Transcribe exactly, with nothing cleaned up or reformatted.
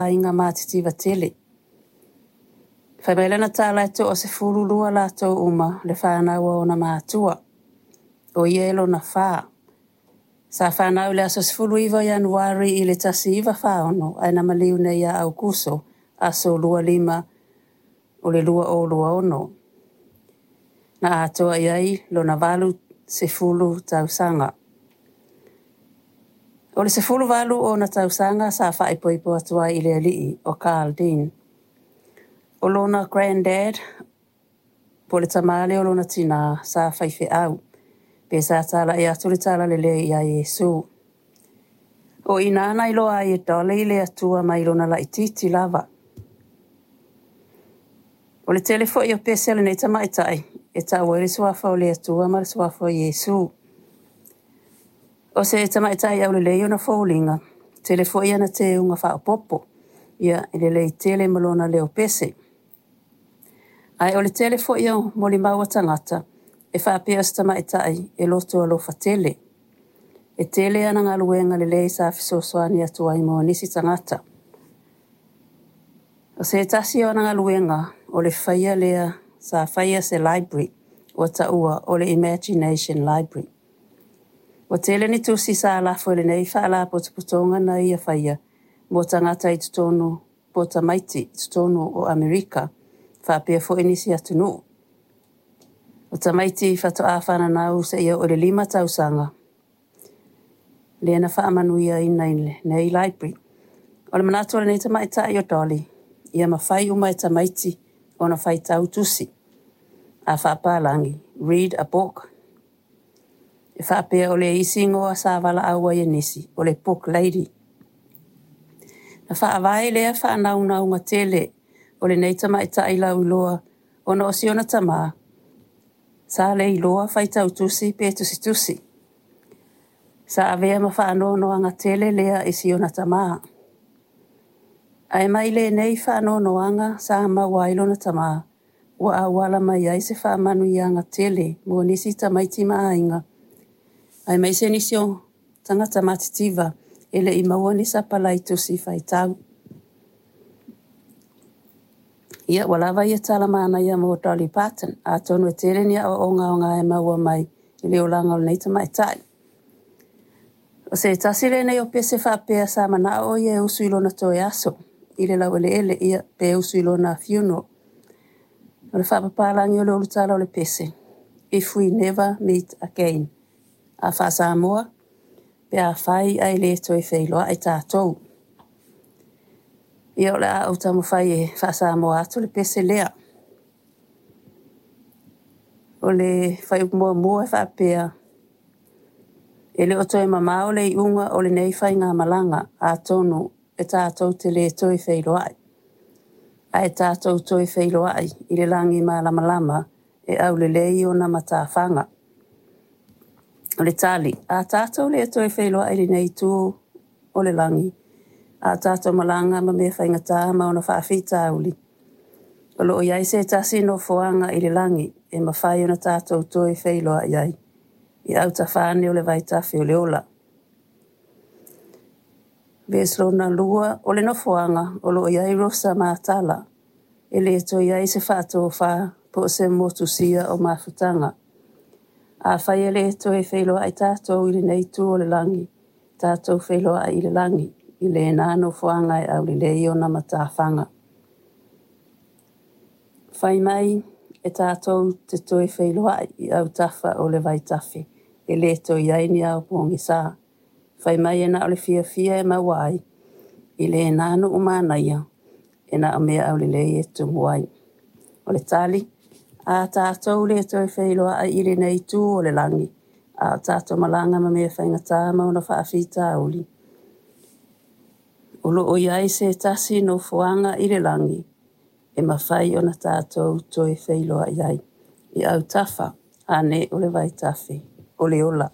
Aiga matitiva tele. Fai mai lana tala e toasefulu lua latou uma le fanau a ona matua. O ia e lona fa. Sa fanau i le aso sefulu iva o Ianuari i le tasi iva fa ono ae na maliu nei ia Aukuso aso lua lima o le lua o lua ono. Na atoa i ai lona valu sefulu tausaga. O le sefulu valu ona tausaga sa faaipoipo atu ai i le alii o Carl Dean. O lona granddad, po o le tamā lea o lona tinā, sa faifeau, pe sa talai atu le talalelei iā Iesu. O i ina na iloa ai e Dolly le Atua mai lona laitiiti lava. O le tele foi o pese a lenei tamaitai e tau ai le suafa o le Atua ma le suafa o Iesu. O se tamaitai aulelei ona foliga, tele foi ana teuga faaopoopo, ia e lelei tele ma lona leo pese. Ae o le tele foi o molimau a tagata e faapea o se tamaitai e loto alofa tele. E tele ana galuega lelei sa fesoasoani atu ai mo nisi tagata. O se tasi o ana galuega o le faia lea sa faia se library ua taua o le Imagination Library. Ua tele ni tusi sa lafo i lenei faalapotopotoga na ia faia mo tagata i totonu po o tamaiti i totonu o Amerika, faapea foi nisi atunuu. O tamaiti faatoa fananau seia oo i le lima tausaga, lea na faamanuiaina i lenei library. O le manatu o lenei tamaitai o Dolly, ia mafai uma e tamaiti ona faitau tusi. A faapalagi, read a book. E faapea o le isi igoa sa valaau ai e nisi, o le Book Lady. Na faavae lea faanaunauga tele o lenei tamaitai lauiloa ona o si ona tamā, sa le iloa faitau tusi pe tusitusi. Sa avea ma faanoanoaga tele lea i si ona tamā. Ae mai lenei faanoanoaga sa maua ai lona tamā, ua auala mai ai se faamanuiaga tele mo nisi tamaiti ma aiga, aemaise nisi o tagata matitiva e le i maua ni sapalai tusi faitau. Ia, ua lava ia tala manaia mo Dolly Parton, atonu e tele ni aoaoga aoga e maua mai i le olaga o lenei tamaitai. O se tasi lenei o pese faapea sa manao o ia e usu i lona toe aso i le laueleele, ia pe usu i lona funeral. O le faapapalagi o le ulutala o le pese, If we never meet again. A faa-Samoa, pe afai ae le toe feiloai tatou. Ia o le a ou taumafai e faa-Samoa atu le pese lea. O le fuaiupu muamua e faapea, e le o toe mamao le iuga o lenei faigamalaga atonu e tatou te le toe feiloai. Ae tatou toe feiloai i le lagi malamalama e aulelei ona matafaga. O le tali, a tatou le toe feiloai i lenei itu o le lagi, a tatou malaga ma mea faigata ma ona faafitauli, o lo o i ai se tasi nofoaga i le lagi e mafai ona tatou toe feiloai ai, i autafa ane o le vaitafe o le ola. Vesi lona lua, o le nofoaga o lo o i ai Rosa Matala, e le toe i ai se faatofa po o se motusia o mafutaga. Afai e le toe feiloai tatou i lenei itu o le lagi, tatou feiloai i le lagi, i lena nofoaga e aulelei ona matafaga. Fai mai e tatou te toe feiloai i autafa o le vaitafe, e le toe i ai ni ao pogisa. Fai mai e na o le fiafia e maua ai, i lena nuu manaia, e na o mea aulelei e tumu ai. O le tali, a tatou le toe feiloai i lenei itu o le lagi, a o tatou malaga ma mea faigata ma ona faafitauli, o lo o i ai se tasi nofoaga i le lagi e mafai ona tatou toe feiloai ai, i autafa ane o le vaitafe o le ola.